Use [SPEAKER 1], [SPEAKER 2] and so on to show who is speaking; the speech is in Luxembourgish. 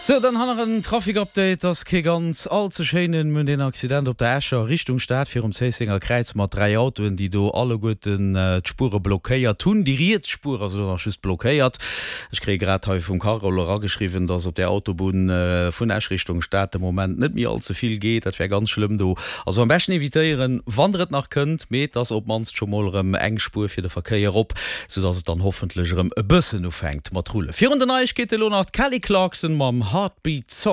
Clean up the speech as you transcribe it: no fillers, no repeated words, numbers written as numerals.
[SPEAKER 1] Sou, dann ha nach en Trafic-Update, ass kee ganz all ze schéinen. Mir hunn deen Accident op der Escher Richtung Stad virum Zéissenger Kräiz mat 3 Autoen, déi do alleguerten d'Spuere blockéiert hunn. Déi riets Spuer ass elo nach just blockéiert. Ech kréie grad hei vum Carole erageschriwwen, dass op där Autobunn vun Esch Richtung Stad de Moment net méi all ze vill geet. Dat wär ganz schlëmm do. Also am beschten evitéieren, wann der et nach kënnt, mee et ass op d'mannst scho mol erëm eng Spuer fir de Verkéier op, soudass et dann hoffentlech erëm e bëssen ufänkt mat rullen. Virun den Neiegkeete elo nach d'Kelly Clarkson mam Heartbeat Song.